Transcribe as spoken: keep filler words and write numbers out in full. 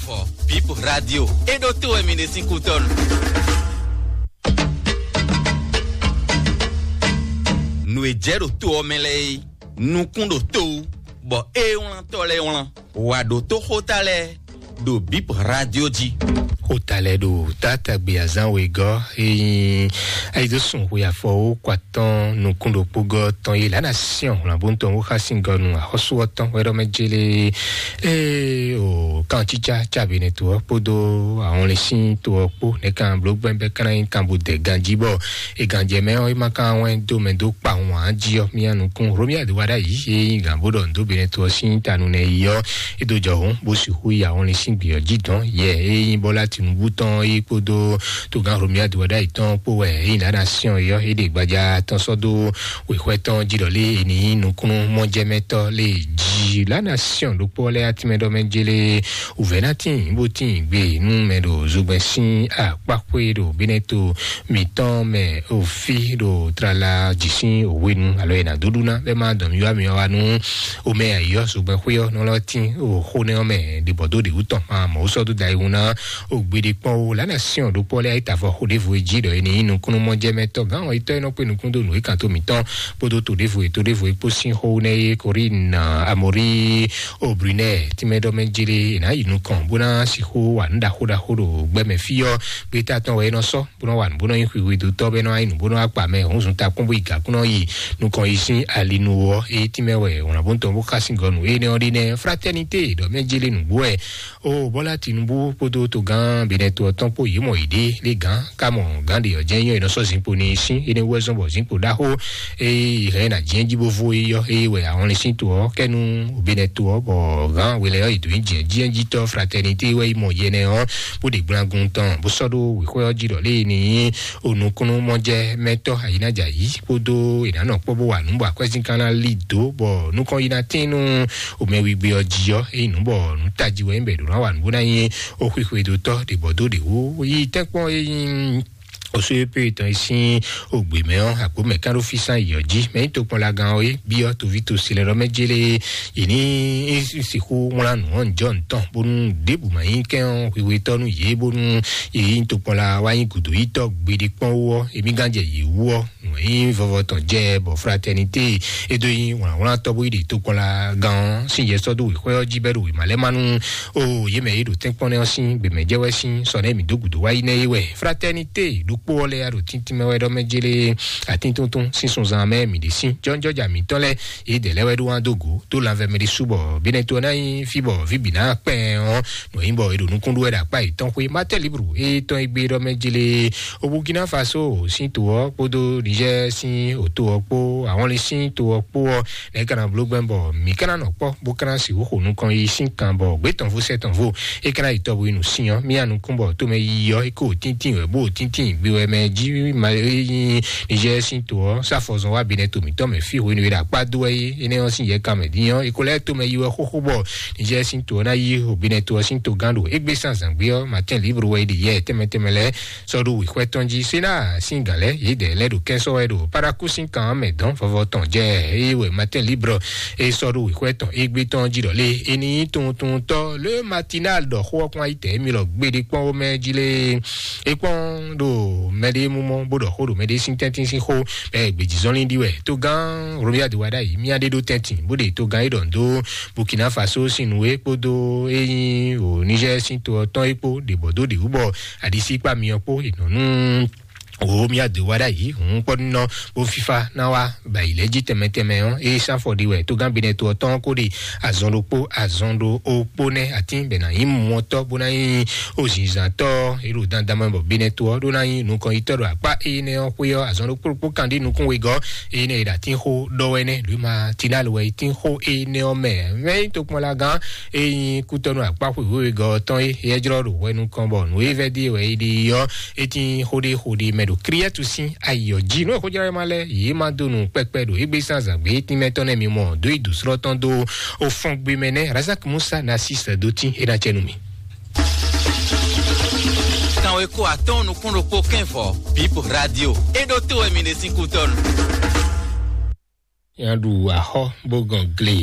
Bip Radio. E ɖo to wɛ mi ɖe sín kútɔnu. Nǔ e jɛ ɖo to ɔ́ mɛ lɛ́ɛ é, nukún ɖo to wú, bɔ é wlántɔ́ lɛ́ɛ wlán. Wǎ ɖo tó xóta lɛ́ɛ ɖo Bip Radio jí. Xóta lɛ́ɛ ɖo tátagbe azán wegɔ́, ényí ayidosùn xwe afɔwó kɔ atɔ́ɔ́n nukún ɖokpó gɔ́ tɔn yi lǎ ná syɔ́n wlǎnbóntɔn wó xá sín gɔ́ nu axɔ́sú ɔ́ tɔn wɛ ɖɔ mɛ jélé. Ee o, kan tsítsá tsa benɛ to ɔ́ kpódó ahɔnlin sín to ɔ́ kpó nɛ̌ kan bló gbɛ́ngbɛ́n kan ná nyí kan bó dɛ ganjí bɔ è gǎnjɛ mɛ ɔ́, é ma ka wɛn dó mɛ dó kpa wǎn jí ɔ́, mía nukún Romia de wa ɖ'ayǐ, é nyí gǎn bó ɖɔ nǔ dó benɛ to ɔ́ sín tanu nɛ yi ɔ́, é dó jɔ hǔn bó sixú yi ahɔnlin sín gbě ɔ́ jí dɔn. Yɛ é nyí Bɔ́lá Tinúbú tɔn é kpódó togán Romia de wa ɖ'ayǐ tɔn kpó wɛ é nyí ɖǎ ná syɔ́n é ɔ́, é ɖe gbaja tɔn sɔ́ dó wěxwɛ́ tɔn jí ɖɔ lé è nǐ nyí nukúnnú mɔjɛmɛtɔ́ lé jí. La nation ɖokpó lɛ́ɛ atínmɛ ɖɔ mɛ jélé wǔvɛ́ ná tíin bó tíin gbe nú mɛ ɖo zogbɛ́n sín akpáxwé ɖo Bɛ́nɛto mǐtɔn mɛ òfí ɖo tlala jǐ sín òhwenu alo è nǎ dó ɖu ná bɛ́ má dɔn mì wá mì wá nú omɛ ayǐ ɔ́ zogbɛ́n xwé ɔ́ nɔ lɔ tín o xó nɛ́ ɔ́ mɛ ɖibɔ̌ dó ɖě wú tɔn ma mɔ̌ sɔ́ dó da yi wú ná. Ògbéɖé kpɔ́n ó, lǎnà Siɔn ɖokpó lɛ́ɛ ayíta vɔ xó ɖěvo e jí ɖɔ é ní nyí nukúnnú mɔjɛmɛtɔ́ gǎn ɔ́, itɔ́ e nɔ kpé nukún dó nǔ e kan tó mǐtɔn kpódó to ɖěvo e to ɖěvo e kpó sín xó nɛ́ é Korín Amorí Obrunɛ tínmɛ ɖɔ mɛ jlé è nǎ yi nukɔn bó ná sixú wa nǔ ɖaxó ɖaxó ɖo gbɛmɛ fí ɔ́. Gbéta tɔn wɛ é nɔ sɔ́ bó nɔ wa nǔ bó nɔ nyí xwixwedótɔ́ bɔ é nɔ wá nyí nǔ bó nɔ wá kpa mɛ hǔn zun takún bó yi gǎkún nɔ yi nukɔn yi sín ali nu ó. Eye tínmɛ wɛ wlǎnbóntɔn bó xá sín gɔnu énɛ́ ɔ́ ɖe nɛ́ Fraternité ɖɔ mɛ jlé nǔgbó wɛ. O Bɔ́lá Tinúbú kpódó togán Benɛto ɔ́ tɔn kpó yě mɔ yěɖée lé gǎn ká mɔ gǎn ɖě ɔ́ jɛ́n nyɔ́ è nɔ sɔ́ zinkpo n'i sín énɛ́ wú wɛ zɔ́n bɔ zinkpo ɖaxó e hɛn ná jɛ́n jí bó vo é yɔ́ é wɛ ahɔnlin sín to ɔ́ kɛ́ nú Benɛto ɔ́ bɔ gǎn hwelɛ́ ɔ́ è dǒ nyi jɛ́njíɛ́njítɔ́ Fraternité wɛ yi mɔ yɛnɛ ɔ́ bó ɖe gblangun tɔn bó sɔ́ ɖó wěxwɛ́ ɔ́ jí ɖɔ lé ní onukúnnú mɔjɛmɛtɔ́ ayǐnájǎyí kpódó è nǎ nɔ kpɔ́ bó wa nǔ bɔ akwɛ́zínkán ná lí dǒ bɔ nukɔn yi ná tín nú omɛwígbe ɔ́ jí ɔ́, é nyí nǔ bɔ nǔ tají wɛ nyí bɔ è ɖǒ ná wa nǔ bó ná nyí oxwixwedótɔ́ ɖě bɔ dó ɖě wú. Yi tɛ́nkpɔ́n e nyí osu e pé tɔn e sín ogbè mɛ ɔ́, àgbo mɛ kán ɖó fí sán yi ɔ́ jí. Mɛ nyí tokpɔnlagán ɔ́ é byɔ́ toví tosi lɛ́ɛ ɖɔ mɛ jélé yě ní sixú wlán nǔ ɔ́ njɔ ntɔn bónú ɖěbǔ ma nyí kɛn ɔ́ hwihwetɔ́ nú yě bónú yě nyí tokpɔnla wá nyí gǔdo yítɔ́ gbeɖé kpɔ́n wú ɔ́, émí gán jɛ yě wú ɔ́. Nǔ e nyí vɔvɔ tɔn jɛ bɔ Fraternité e dó nyí wlǎnwlántɔ́ bó yi ɖe tokpɔnlagán ɔ́ sín yɛ sɔ́ dó wěxwɛ́ ɔ́ jí bɔ é ɖo wěma lɛ́ má nú o yě mɛ e ɖo tɛ́nkpɔ́n nɛ́ ɔ́ sín gběmɛ jɛ wɛ sín sɔ nɛ́ mǐ dó gǔdo wá yi nɛ́ é wɛ. Fraternité ɖokpó ɔ́ lɛ́ɛ ɖo tíntín mɛ wɛ ɖɔ mɛ jélé atíntúntún sín sunzan mɛ mǐ ɖe sín jɔ́njɔ́ja mǐtɔn lɛ́ɛ yě dɛ lɛ́ wɛ ɖó wán dó gǒ dó lanvɛ mɛ ɖésú bɔ bínɛ́ tó ná nyí fí bɔ vǐ bǐ ná kpɛn ɔ́ nɔ nyí bɔ è ɖo nukún ɖó wɛ ɖo akpá yětɔn xwé Martin Libre e tɔn e gbé ɖɔ mɛ jélé o Burkina Faso sín to ɔ́ kpódó Niger sín òto ɔ́ kpó ahɔnlin sín to ɔ́ kpó ɔ́ nɛ̌ ka ná bló gbɛn bɔ mǐ ka ná nɔ kpɔ́ bó ka ná sixú xo nukɔn yi sín kan bɔ gbě tɔn vo sɛ́ tɔn vo é ka ná yi tɔ́ bó yi nǔ sin ɔ́ mía nukún bɔ tómɛ yiyi ɔ́ é kó tíntín wɛ bó tíntín gbe wɛ mɛ jí ma é nyí Niger sín to ɔ́ sáfɔzɔn wá binɛ to mǐtɔn mɛ fí hwenu e ɖo akpá dó wɛ é énɛ́ ɔ́ sín yɛ kan mɛ dín ɔ́ é ko lɛ́ tómɛ yi wɛ xóxó bɔ Niger sín to ɔ́ ná yí Benin to ɔ́ sín togán ɖo égbé sín azǎngbé ɔ́, Martin Libre wɛ é ɖe yɛ tɛnmɛ tɛnmɛ lɛ́ɛ sɔ́ ɖó wěxwɛ́ tɔn jí. Sénat sín gǎn lɛ́ɛ yě dɛ lɛ́ ɖo kɛ́nsɔ́ wɛ ɖo Paraku sín kan ɔ́ mɛ dɔn vɔvɔ tɔn jɛ eye wɛ Martin Libre é sɔ́ ɖó wěxwɛ́ tɔn égbé tɔn jí ɖɔ lé é ní nyí tuntuntɔ́ Le Matinal ɖɔ xó ɔ́ kpɔ́n ayítɛ émí lɔ gbeɖé kpɔ́n wó mɛ jí lé. É kpɔ́n ɖo mɛɖé mú mɔ bó ɖɔ xó ɖo mɛɖé sín tɛ́ntín sín xó bɛ́ gbějízɔ́nlin ɖi wɛ. Togán Romuald Wadagni mía ɖé ɖó tɛ́ntin bó ɖe togán é ɖɔ ndo Burkina Faso sín nǔ é kpódó é nyí o Niger sín to ɔ́ tɔn é kpó ɖě bɔ dó ɖě wú bɔ aɖisíkpá myɔ kpó è nɔ nú o mía dó Wadagni hǔn kpɔ́ nínɔ bó fífá ná wá bɔ ayǐ lɛ́ jí tɛnmɛ tɛnmɛ ɔ́, é sán afɔ ɖi wɛ tógán Benɛto ɔ́ tɔn kó ɖe azɔn ɖokpó azɔn ɖo okpó nɛ́ atín bɛ ná nyí mɔtɔ́ bó ná nyí ozǐnzǎntɔ́ é ɖo dandan mɛ bɔ Benɛto ɔ́ ɖó ná nyí nukɔnyitɔ́ ɖo akpá énɛ́ ɔ́ xwé ɔ́. Azɔn ɖokpó ɖokpó kan ɖi nukún wegɔ́ énɛ́ è ɖo atín xó ɖɔ wɛ nɛ́ Luma Tinal wɛ é tín xó énɛ́ ɔ́ mɛ. Mɛ é nyí tokpɔnlagán é nyí kútɔ́nú akpá xwěxwé wegɔ́ ɔ́ tɔn é é jlɔ́ ɖo hwɛ nukɔn bɔ nǔ e vɛ́ ɖíe wɛ é ɖe ɔ́ é tín xó ɖé xó ɖé mɛ ɖo Kriɛ́tu sín ayǐ ɔ́ jí. Nú xójlɔ́yɔ́má lɛ́ɛ yě ma dó nú kpɛkpɛ ɖo égbé sín azǎn gbé tínmɛ tɔn nɛ́ mi mɔ dó yi dǒslɔ́ tɔn dó ofɔn gbe mɛ nɛ́ Razak Musa Nasis dó tín é ná cɛ nú mi. Kanweko atɔ́ɔ́n nukún ɖokpó kɛ́n vɔ Bip Radio é ɖó to wɛ mi ɖe sín kútɔ́nu. Nya ɖu axɔ bó gɔn gle